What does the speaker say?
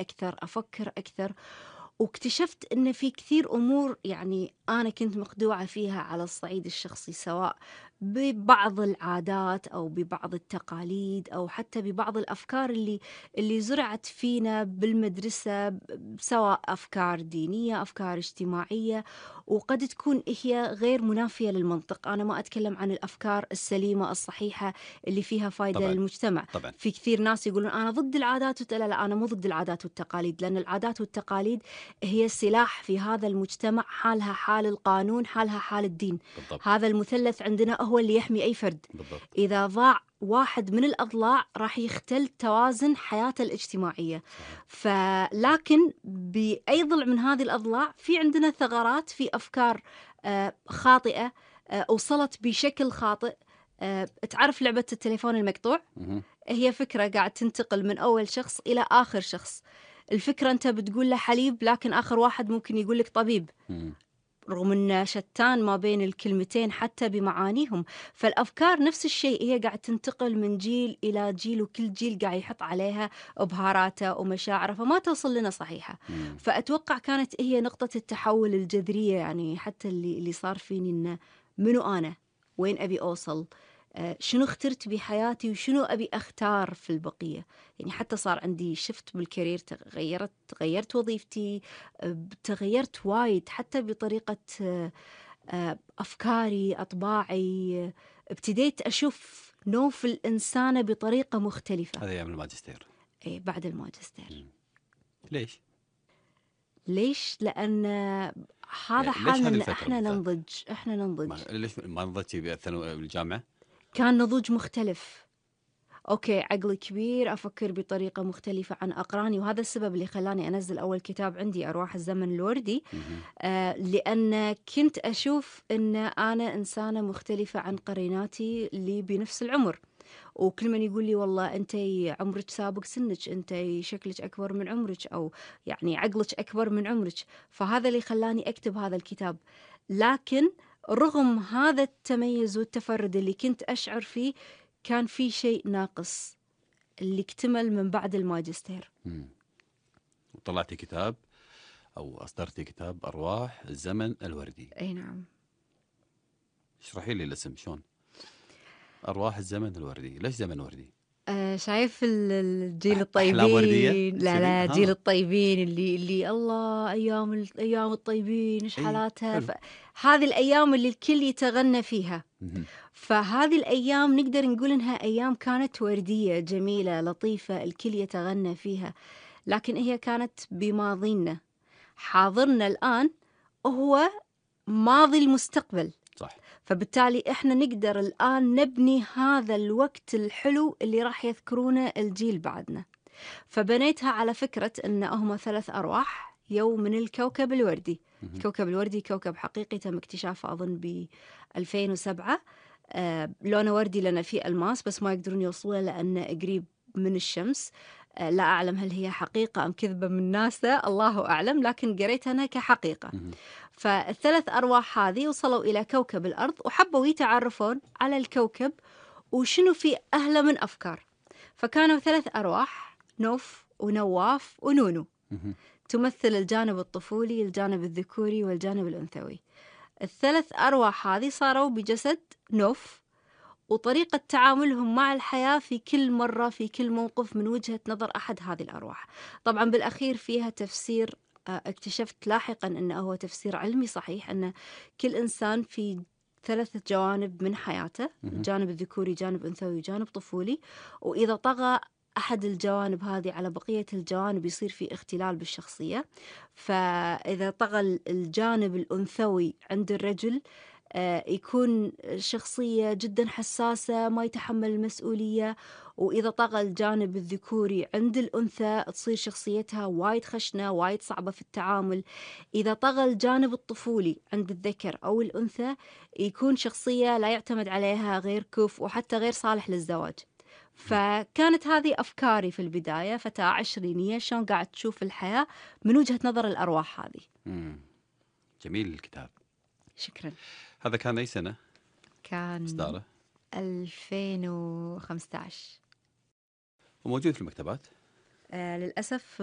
أكثر، أفكر أكثر، واكتشفت إن في كثير أمور يعني أنا كنت مخدوعة فيها على الصعيد الشخصي، سواء ببعض العادات أو ببعض التقاليد أو حتى ببعض الأفكار اللي زرعت فينا بالمدرسة، سواء أفكار دينية، أفكار اجتماعية، وقد تكون هي غير منافية للمنطق. أنا ما أتكلم عن الأفكار السليمة الصحيحة اللي فيها فايدة طبعا للمجتمع. طبعا. في كثير ناس يقولون أنا ضد العادات لا لا، أنا مو ضد العادات والتقاليد، لأن العادات والتقاليد هي سلاح في هذا المجتمع، حالها حال القانون، حالها حال الدين. بالضبط هذا المثلث عندنا هو اللي يحمي أي فرد. بالضبط. إذا ضاع واحد من الأضلاع راح يختل توازن حياته الاجتماعية. صحيح. لكن بأي ضلع من هذه الأضلاع في عندنا ثغرات، في أفكار خاطئة وصلت بشكل خاطئ. تعرف لعبة التليفون المقطوع؟ مهم. هي فكرة قاعد تنتقل من أول شخص إلى آخر شخص. الفكرة أنت بتقول له حليب، لكن آخر واحد ممكن يقول لك طبيب، مم. رغم أن شتان ما بين الكلمتين حتى بمعانيهم. فالأفكار نفس الشيء، هي قاعد تنتقل من جيل إلى جيل، وكل جيل قاعد يحط عليها بهاراته ومشاعره، فما توصل لنا صحيحة. مم. فأتوقع كانت هي نقطة التحول الجذرية، يعني حتى اللي صار فيني إنه منو أنا، وين أبي أوصل، شنو اخترت بحياتي وشنو أبي أختار في البقية. يعني حتى صار عندي شفت بالكارير، تغيرت وظيفتي، تغيرت وايد حتى بطريقة أفكاري، أطباعي. ابتديت أشوف نوف الإنسانة بطريقة مختلفة. هذا أيام الماجستير. إيه، بعد الماجستير. مم. ليش؟ ليش؟ لأن هذا يعني ليش حالنا، هذه إن الفترة بالذات؟ إحنا ننضج. ليش ما نضجتي بالجامعة؟ كان نضوج مختلف. أوكي، عقلي كبير، أفكر بطريقة مختلفة عن أقراني، وهذا السبب اللي خلاني أنزل أول كتاب عندي، أرواح الزمن الوردي. مهم. لأن كنت أشوف أن أنا إنسانة مختلفة عن قريناتي اللي بنفس العمر، وكل من يقول لي والله أنت عمرك سابق سنك، أنت شكلك أكبر من عمرك، أو يعني عقلك أكبر من عمرك. فهذا اللي خلاني أكتب هذا الكتاب. لكن رغم هذا التميز والتفرد اللي كنت أشعر فيه، كان في شيء ناقص اللي اكتمل من بعد الماجستير. مم. وطلعتي كتاب أو أصدرتي كتاب أرواح الزمن الوردي. أي نعم. اشرحي لي الاسم شلون. أرواح الزمن الوردي، ليش زمن وردي؟ شايف الجيل أحلام وردية الطيبين، لا كذي لا، جيل ها. الطيبين اللي الله، أيام الطيبين إيش أي حالاتها. حلو. هذه الأيام اللي الكل يتغنى فيها. مهم. فهذه الأيام نقدر نقول إنها أيام كانت وردية جميلة لطيفة، الكل يتغنى فيها. لكن هي كانت بماضينا. حاضرنا الآن هو ماضي المستقبل. صح. فبالتالي إحنا نقدر الآن نبني هذا الوقت الحلو اللي راح يذكرونه الجيل بعدنا. فبنيتها على فكرة إن هم 3 أرواح يوم من الكوكب الوردي. مهم. الكوكب الوردي كوكب حقيقي تم اكتشافه أظن ب 2007. لونه وردي لأن فيه ألماس، بس ما يقدرون يوصلونه لأنه قريب من الشمس. لا أعلم هل هي حقيقة أم كذبة من ناسا، الله أعلم، لكن قريتها أنا كحقيقة. مهم. فالثلاث أرواح هذه وصلوا إلى كوكب الأرض، وحبوا يتعرفون على الكوكب وشنو في أهله من أفكار. فكانوا 3 أرواح، نوف ونواف ونونو، مهم. تمثل الجانب الطفولي، الجانب الذكوري، والجانب الأنثوي. الثلاث أرواح هذه صاروا بجسد نوف، وطريقة تعاملهم مع الحياة في كل مرة، في كل موقف، من وجهة نظر أحد هذه الأرواح. طبعا بالأخير فيها تفسير، اكتشفت لاحقا أنه هو تفسير علمي صحيح، أن كل إنسان في 3 جوانب من حياته، مهم. جانب الذكوري، جانب أنثوي، جانب طفولي. وإذا طغى أحد الجوانب هذه على بقية الجوانب يصير في اختلال بالشخصية. فإذا طغى الجانب الأنثوي عند الرجل، يكون شخصية جدا حساسة، ما يتحمل المسؤولية. وإذا طغى الجانب الذكوري عند الأنثى تصير شخصيتها وايد خشنة، وايد صعبة في التعامل. إذا طغى الجانب الطفولي عند الذكر أو الأنثى، يكون شخصية لا يعتمد عليها، غير كفء وحتى غير صالح للزواج. فكانت هذه أفكاري في البداية، فتاة عشرينية شلون قاعد تشوف الحياة من وجهة نظر الأرواح هذه. مم. جميل الكتاب. شكرا. هذا كان أي سنة كان إصداره؟ 2015. وموجود في المكتبات؟ للأسف